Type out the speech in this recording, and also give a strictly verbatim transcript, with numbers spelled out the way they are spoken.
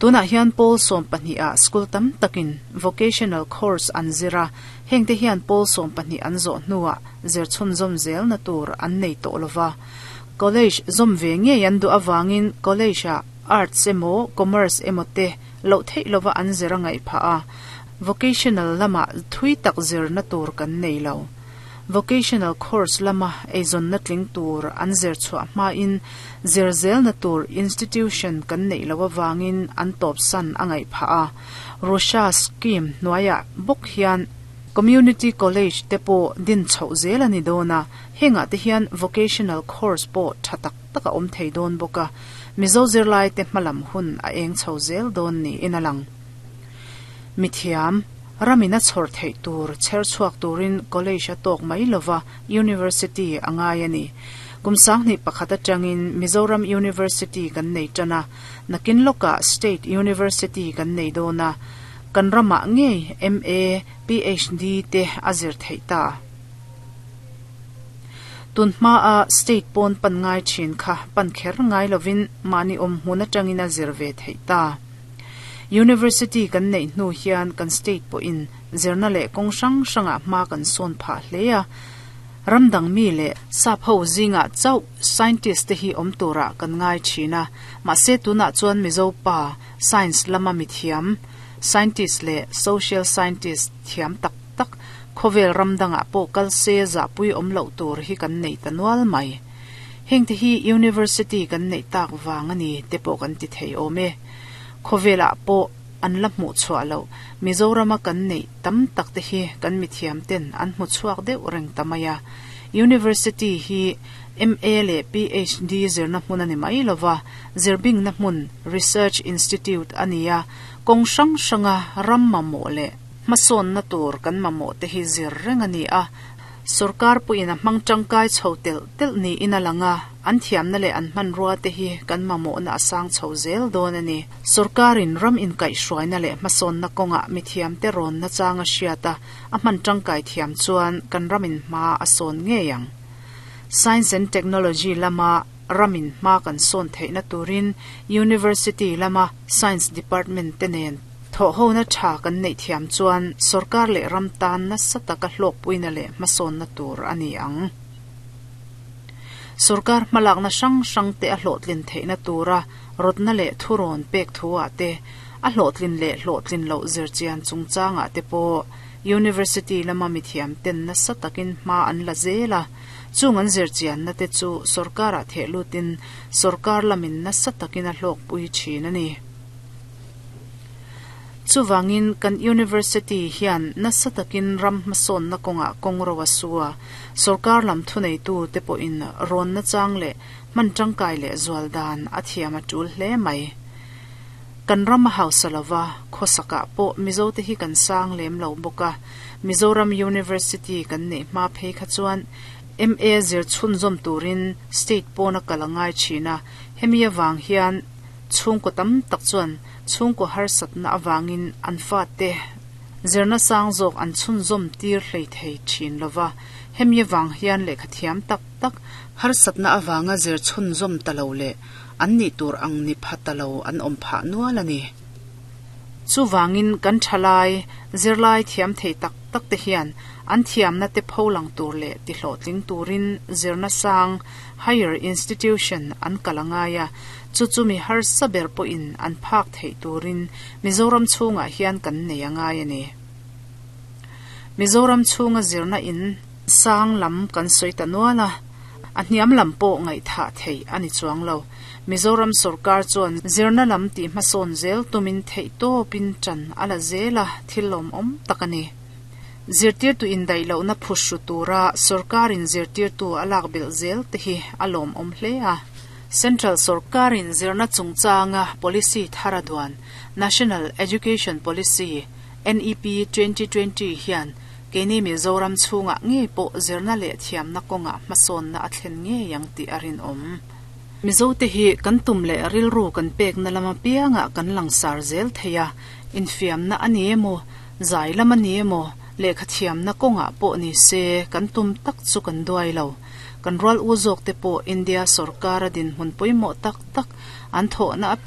Tunah hian pawl sawm pahnih ah school tam takin vocational course an zira hengte hian pawl sawm pahnih an zawh hnuah zir chhunzawm zel na tur an nei tawh lova college zawm ve ngei an duh awangin college ah arts emaw commerce emaw te loh theih lova an zir a ngaih phah a vocational lama thui tak zir na tur kan nei lo vocational course lama eizawn na tling tur an zir chhuah hma in zir zel na tur institution kan nei lo awangin an tawp san a ngaih phah a Russia scheme hnuaiah bawk hian community college te pawh din chhoh zel ani dawn a hengah te hian vocational course pawh tha tak tak a awm thei dawn bawk a Mizo zirlai te hmalam hun a eng chho zel dawn ni in a lang mithiam ramina chhawr theih tur chher chhuak turin college a tawk mai lova university a ngai ani kum sanghnih pakhat atangin Mizoram University kan nei tana nakin loka State University kan nei dawn a kan ramah ngei M A P H D te a zir theih ta tun hma a state pawn pan ngai thin kha pan kher ngai lovin mahni awm hmun atangin a zir ve theih ta university kan nei hnu hian kan state pawhin zirna leh kawng hrang hrangah hma kan sawn phah hle a ramdang mi leh sap ho zingah chauh scientist te hi awm turah kan ngai thin a mahse tunah chuan Mizo pa science lama mithiam scientist leh social scientist thiam tak tak khawvel ramdangah pawh kal se zahpui awm loh tur hi kan nei ta nual mai heng te hi university kan neih tak wang ani te pawh kan ti thei awm e khawvelah pawh an la hmuh chhuah lo Mizorama kan neih tam tak te hi kan mithiam ten an hmu chhuak deuh reng ta mai a university hi M A leh P H D zirna hmun ani mai lova zirbing na hmun research institute ania kawng hrang hranga ram mamawh leh hmasawn na tur kan mamawh te hi zir reng ani a sarkar puin a hmang tangkai chho tel tel ni in a langa an thiamna leh an hman rua te hi kan mamawh na a sang chho zel dawn ani sarkarin ram in kaih hruaina leh hmasawn na kawnga mithiam te rawn na changa hriata a hman tangkai thiam chuan kan ramin hma a sawn ngei ang science and technology lama ramin hma kan sawn theihna turin university lama science department te nen thaw ho na tha kan nei thiam chuan sarkar leh ram tan na sataka hlawk puina leh hmasawn na tur ani ang sarkar hmalak na hrang hrang te a hlawhtlin theihna tura rawtna leh thurawn pek thuah te a hlawhtlin leh hlawhtlin loh zirchian chungchangah te pawh university lama mithiam ten nasa takin hma an la zel a chung an zirchian na te chu sarkarah theh lutin sarkar lamin nasa takin a hlawk pui thin ani chuwangin kan university hian nasa takin ram hmasawn na kawnga kawng ro a su a sarkar lam thunei tu te pawhin rawn na chang leh hman tangkai leh zual dan a thiam a tul hle mai kan ram a hausa lova khawsakah pawh Mizo te hi kan sang lem lo bawk a Mizoram University kan neih hma phei kha chuan M A zir chhunzawm turin state pawna kal a ngai thin a hemi awang hian chhungkaw tam tak chuan chhungkaw harsatna awangin an fa te zirna sang zawk an chhunzawm tir hlei thei thin lova hemi awang hian lehkha thiam tak tak harsatna awanga zir chhunzawm ta lo leh an nih tur ang ni pha ta lo an awm phah nual ani chuwangin kan thalai zirlai thiam thei tak tak te hian an thiamna te pholang tur leh ti hlawhtling turin zirna sang higher institution an kalangaya chu chu mi har saber pawhin an phak thei turin Mizoram chhungah hian kan nei angai ani Mizoram chhunga zirna in sang lam kan sawi ta nual a a hniam lam pawh ngaih tha thei ani chuang lo Mizoram sarkar chuan zirna lam ti hmasawn zel tumin theih tawpin tan ala zela thil lawm awm tak ani zirtir tu in daih lohna phuhru tura sarkarin zirtir tu a lak belh zel te hi a lawm awm hle a Central sarkarin zirna chungchanga policy thara duan National Education Policy N E P twenty twenty hian keini Mizoram chhunga ngei pawh zirna leh thiamna kawnga hmasawnna a thlen ngei ang tih a rinawm Mizo te hi kan tum leh rilru kan pek na lama pianga kan langsar zel theia infiamna ani emaw zai lam ani emaw lehkha thiamna kawnga pawh ni se kan tum tak chu kan duai lo kan rual u zawk te pawh India sarkar a din hmun pawimawh tak tak an thawhna api